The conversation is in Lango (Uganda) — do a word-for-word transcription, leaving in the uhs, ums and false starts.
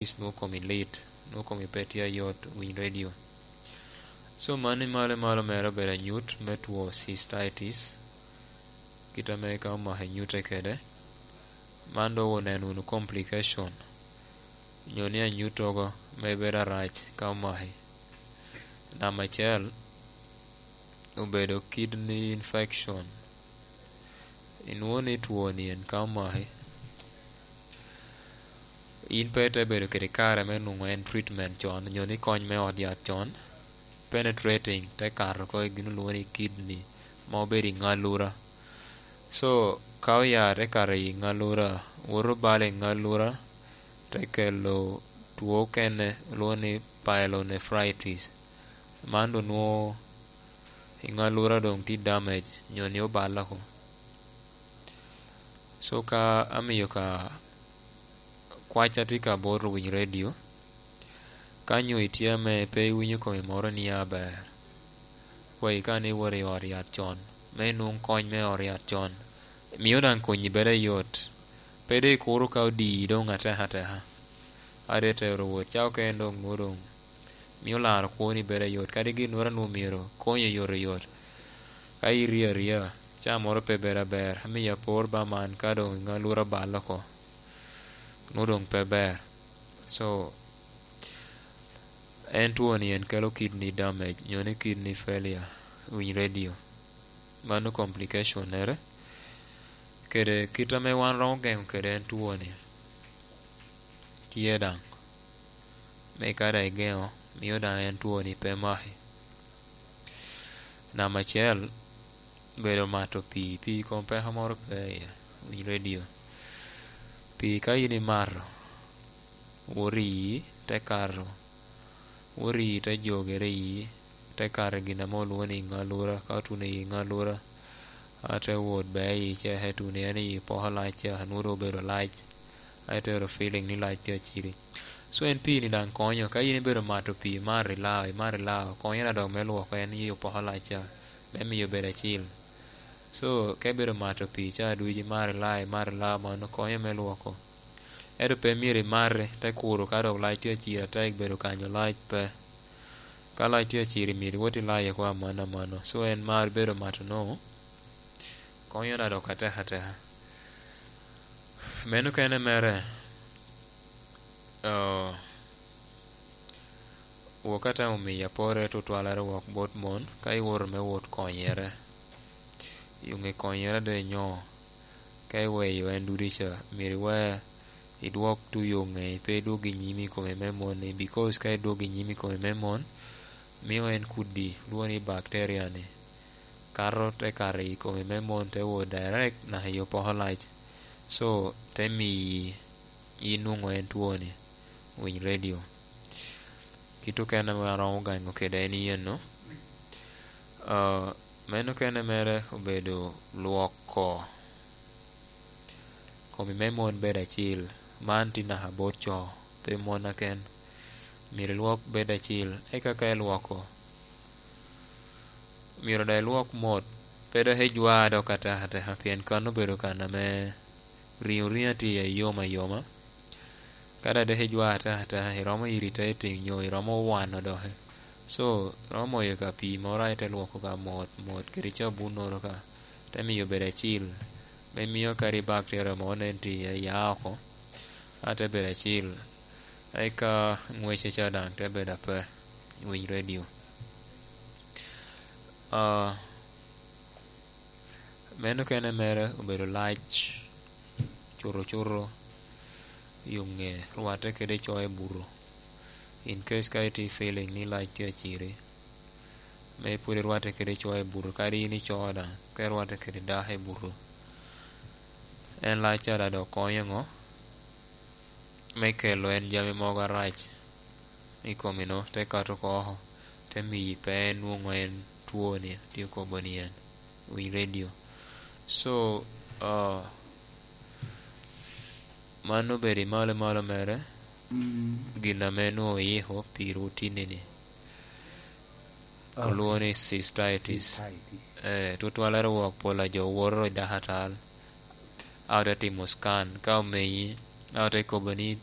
is nwoŋo komi lit, nwoŋo komi pe tye ayot winy redio. So mano i malo i malo mere obedo anyut me two cystitis, kit ame ka omako anyute kede. Man dok oneno wunu complication, nyo ni anyut togo me bedo arac ka omaki. Namba acel, obedo kidney infection. Inwoŋo ni twoni en ka omaki, in pe ite bedo kede kare me nwoŋo en treatment con, nyo ni kony me ot yat con, penetrating, te kato oko i gin olwoŋo ni kidney, ma obedo i ŋalura. So, ka oya te kato i ŋalura, woto balo i ŋalura, te kelo two okene olwoŋo ni pyelonephritis. Man doŋ nwoŋo i ŋalura doŋ tye damage, nyo ni oballe oko. So ka amio ka kwacca tye ka bot owiny redio, ka nyo itye ame pe iwinyo komi moro ni aber, kwayi ka ni iwot i ot yat con, me inwoŋ kony me ot yat con, mio daŋ konyi bedo ayot. Pe doŋ ikuro ka odii doŋ ateka ateka. Ade tero wot, ca okene doŋ nwoŋo doŋ mio laro kwoni bedo ayot. Kadi ginnoro a nwoŋo myero konyi oyotoyot, ka irio aria, ca moro pe bedo aber, amiyo apor ba man ka doŋ i ŋalura balle oko, nwoŋo doŋ pe ber. So, en twoni en kelo kidney damage, nyo ni kidney failure, winy redio. Mano complication mere. Kede kit ame wan romo geŋo kede en twoni, tye daŋ. Me ka daŋ igeŋo, mio daŋ en twoni pe maki. Namba acel, bedo mato pii. Pii kom peko moro pe iye, winy redio. Pii ka in imato, wot i ii, te kato, wot i ii, te jogere i ii, te kato i gin ame olwoŋo ni ŋalura. Ka otuno i ŋalura, a te wot bea i ii ca, eka tuno en i ii poko lac ca, nwoŋo doŋ obedo lac, a itero feeling ni lac tye aciri. So en pii ni daŋ konyo, ka in ibedo mato pii, imato ilao, imato ilao, konyo na dok me lwoko en i ii opoko lac ca, me miyo bedo acil. So, ka ibedo mato pii ca ducu, imato ilao, imato ilao, mano konyo me lwoko. Ento pe myero imate, te kuro ka dok lac tye aciro atek, bedo kanyo lac pe. Ka lac tye aciro, myero iwot ilaye oko aman amano. So, en mar bedo mato-nu, konyo na dok atek ateka. Meno kene mere, oh, wok atamo miyo apore tutwalere wok bot mon, ka iwoto me wot konyere. Yoŋe konyere de nyo, ka iweyo en dudica, myero iwe idwok tu yoŋe, pe idwog i nyim i kome me mon-ni, because ka idwog i nyim i kome me mon, mio en kudi, lwoŋo ni bacteria-ni, kato te kato i kome me mon, te wot direct naka i opoko lac. So, te miyi inwoŋo en twoni, winy redio. Kit okene ame aromo gaŋo kede en i eno, ah, meno kene mere obedo lwoko komi me mon bedo acil. Man tye naka bot co, pe mon aken. Myero ilwok bedo acil, eka ka ilwoko, myero daŋ ilwok mot, pe dok ijwa dok ateka ateka, pien kan obedo kan ame riŋo riŋa tye iye yom ayoma. Ka daŋ dok ijwa ateka ateka, iromo iritating nyo iromo wano doki. So, iromo moyo ka pii moro, a ite lwoko ka mot mot kede cabunnoro ka, te miyo bedo acil, me mio kadi bacteria mo nen tye iye, ya oko, a te bedo acil. Eka ŋwece ca daŋ te bedo ape, winy redio. Ah, meno kene mere obedo lac, cuto cuto, yoŋe, rwatte kede co i buto. In case ka itye feeling ni lac tye aciri, me pwod irwatte kede co i buto, kadi in ico daŋ, ka irwatte kede dako i buto, en lac ca daŋ dok konyo ŋo? Me kelo en jami mogo arac i komi-nu, te kato oko oko, te miyi pe nwoŋo en twoni, tye kobo ni en, winy redio. So, ah, mano obedo i malo i malo mere, mm, gin ame nwoŋo oyiko pi rutini-ni. Oh, olwoŋo ni cystitis. Cystitis. Eh, tutwalere wok pol a jo woto i dakatal, a ote timo scan, ka omenyi, a ote kobo ni